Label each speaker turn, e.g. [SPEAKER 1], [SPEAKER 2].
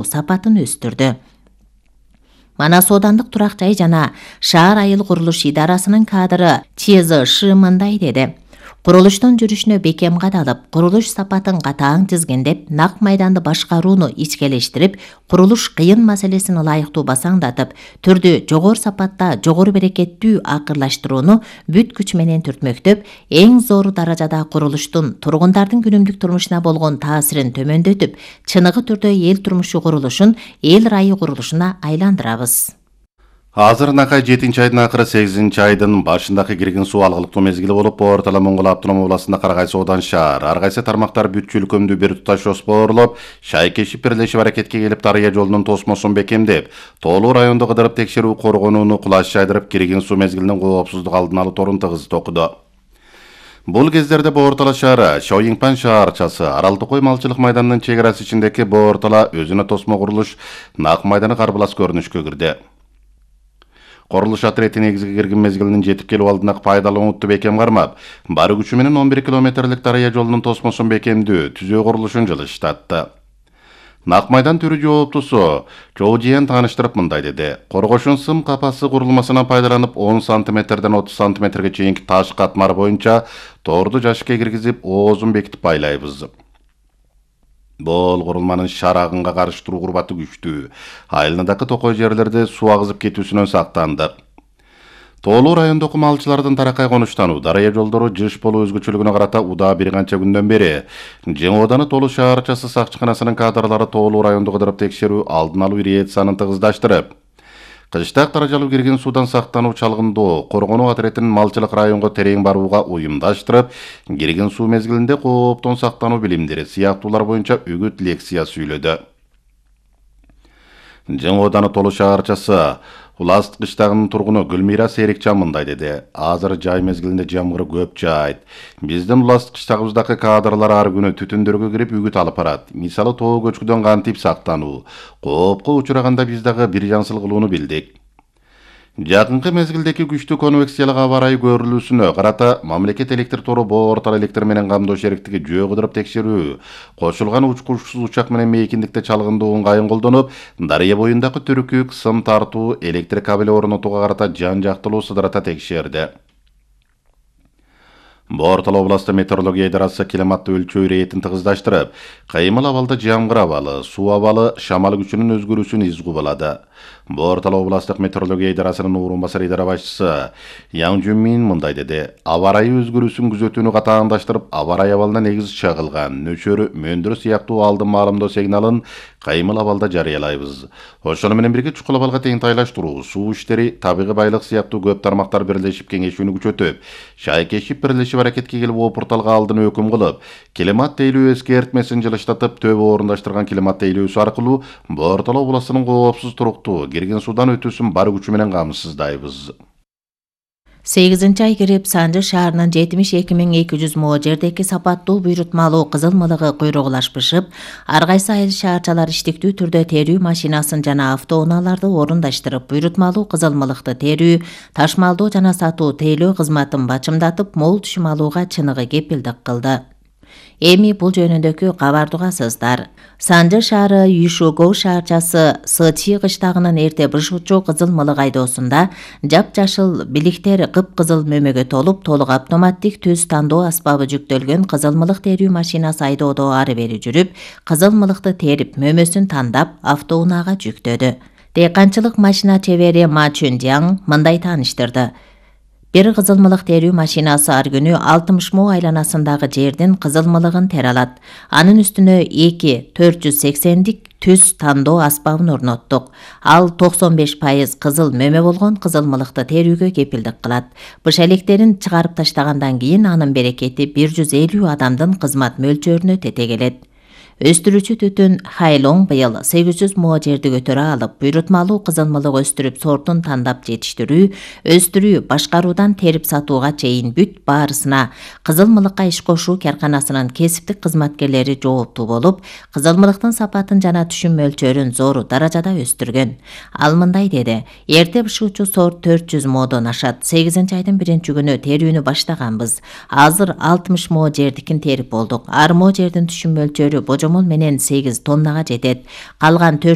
[SPEAKER 1] сапатын өстүрдү. Манас оодандык турак жай жана шаар айыл курулуш идарасынын кадры ЧЗШ мындай деди. Курулуштун жүрүшүнө бекем кадалып, курулуш сапатын катаң тизгиндеп, нак майданды башкарууну ичкелештирип, курулуш кыйын маселесин ылайыктуу басаңдатып, түрдү жогору сапатта, жогору берекеттүү акырлаштырууну бүт күч менен түртмөктөп, эң зор даражада курулуштун тургундардын күнүмдүк турмушуна болгон таасирин төмөндөтүп, чыныгы түрдө эл турмушу курулушун эл ырайы курулушуна айландырабыз.
[SPEAKER 2] Азыр накай 7-айдын акыры 8-айдын башындагы кирген суу алгылыктуу мезгили болуп, Орто Моңгол автономия областында Карагай Соодан шаар, ар кайсы тармактар бүт чөлкөмдүү бир туташ жоспорлоп, шайкешип бирлешип аракетке келип, Дарыя жолунун тосмосун бекемдеп, Тоолуу райондо кыдырып текшерүү коргонууну кулаш жайдырып, кирген суу мезгилинин коопсуздук алдын алуу торун тыгыз токуду. Бул кездерде Боортала шаары, Шоюңпан шаарчасы, Арал Токой малчылык майданынын чек арасы ичиндеги Боортала өзүнө тосмо курулуш нак майданы карбылас көрүнүшкө кирди. Корулуш отрети негизги кирген мезгилинин жетип келүү алдында пайдаланууну бекем кармап, бары күчү менен 11 километрлик Дарыя жолунун тосмосун бекемдүү, түзөө курулушун жылыштатты. Нак майдан түрү жооптусу Жоожиен тааныштырып мындай деди. Коргошун сым капасы курулмасынан пайдаланып 10 сантиметрден 30 сантиметрге чейинки таш катмар боюнча торду жашыкка киргизип, оозун бекитип байлайбыз. Бул курулманын шар агынга каршы туруу курбаты күчтүү. Айылындагы токой жерлерде суу агызып кетүүсүнөн сактандык. Тоолуу райондогу малчылардын таракай конуштануу, Дарыя жолдору жыш болуу өзгөчөлүгүнө карата удаа бир канча күндөн бери Жаңы Ооданы Тоолуу шаарчасы сакчыканасынын кадрлары Тоолуу райондо кыдырып текшерүү алдын алуу ириетсанын тыгыздаштырып, кыштак даражалуу кирген суудан сактануу чалгындоо коргонуу отретинин малчылык районго терең барууга уюмдаштырып, кирген суу мезгилинде кооптон сактануу билимдери сыяктуулар боюнча үгүт лекция сүйлөдү. Жаңы Ооданы Тоолуу шаарчасы Улас кыштагынын тургуну Гүлмира Серикчан мындай деди. Азыр жай мезгилинде жамгыр көп жаайт. Биздин Улас кыштагыбыздагы кадрлар ар күнү түтүндөргө кирип үгүт алып барат. Мисалы тоо көчкүдөн кантип сактануу, коопко учураганда биз дагы бир жансыл кылууну билдик. Жакынкы мезгилдеги күчтүү конвекциялык аба ырайы көрүлүүсүнө карата мамлекет электр тору Боортала электр менен камдоо шериктиги жөө кыдырып текшерүү, кошулган учкучсуз учак менен мейкиндикте чалгындоо ыңгайын колдонуп, Дарыя боюндагы түрүкүк, сым тартуу, электр кабели орнотууга карата жан жактылуу сыдырата текшерди. Боортала областы метеорология идарасы климатты өлчөө иретин тыгыздаштырып, кыймыл абалда жамгыр абалы, суу абалы, шамал күчүнүн өзгөрүүсүн из кубалады. Боортала областык метеорология идарасынын орун басары идара башчысы Яң Жүнмин мындай деди. Аба ырайы өзгөрүүсүн күзөтүүнү катааңдаштырып, аба ырайы абалына негиз чагылган нөчөрү, мөндүр сыяктуу алдын маалымдоо сигналын кыймыл абалда жарыялайбыз. Ошону менен бирге чукул абалга тең тайлаштыруу, суу иштери, табигый байлык сыяктуу көп тармактар бирлешип кеңешүүнү күчөтүп, шайкешип бирлешип аракетке келип опурталга алдын өкүм кылып, климат тейлөө эскертмесин жылыштатып, төбө орундаштырган климат тейлөөсү аркылуу Боортала областынын коопсуз туруктуу кирген суудан өтүүсүн бар күчү менен камсыздайбыз.
[SPEAKER 1] 8-ай кирип, Санжы шаарынын 72.200 мо жердеги сапаттуу буйрутмалуу кызыл мылыгы куйругулашпышып, ар кайсы айыл шаарчалар иштиктүү түрдө терүү машинасын жана автоунааларды орундаштырып, буйрутмалуу кызыл мылыкты терүү, ташмалдоо жана сатуу тейлөө кызматын бачымдатып, мол түшүм алууга чыныгы кепилдик кылды. Эми бул жөнүндөгү кабарды угасыздар. Санжы шаары Юшогов шаарчасы Сычи кыштагынын эрте бышуучу кызыл мылык айдоосунда жапжашыл биликтер кыпкызыл мөмөгө толуп, толук автоматтик төз тандоо аспабы жүктөлгөн кызыл мылык терүү машинасы айдоодо ары бери жүрүп, кызыл мылыкты терип, мөмөсүн тандап, автоунаага жүктөдү. Дыйканчылык машина чебери Ма Чүндяң мындай тааныштырды. Бир кызыл мылык терүү машинасы ар күнү 60 мо айланасындагы жердин кызыл мылыгын тере алат. Анын үстүнө 2 480дик төз тандоо аспабын орноттук. Ал 95% кызыл мөмө болгон кызыл мылыкты терүүгө кепилдик кылат. Быш электерин чыгарып таштагандан кийин анын берекети 150 адамдын кызмат мөлчөрүнө тетегелет. Өстүрүүчү түтүн Хайлоң быйыл 800 мо жерди көтөрө алып, буйрутмалуу кызыл мылык өстүрүп сортун тандап жетиштирүү, өстүрүү, башкаруудан терип сатууга чейин бүт баарысына кызыл мылыкка иш кошуу карканасынын кесиптик кызматкерлери жооптуу болуп, кызыл мылыктын сапатын жана түшүм мөлчөрүн зор даражада өстүргөн. Ал мындай деди: эрте бышуучу сорт 400 модон ашат. 8-айдын 1-күнү терүүнү баштаганбыз. Азыр 60 мо жердикин терип болдук. Ар мо жердин түшүм мөлчөрү божомолдо көчөмөл менен 8 тоннага жетет. Калган 4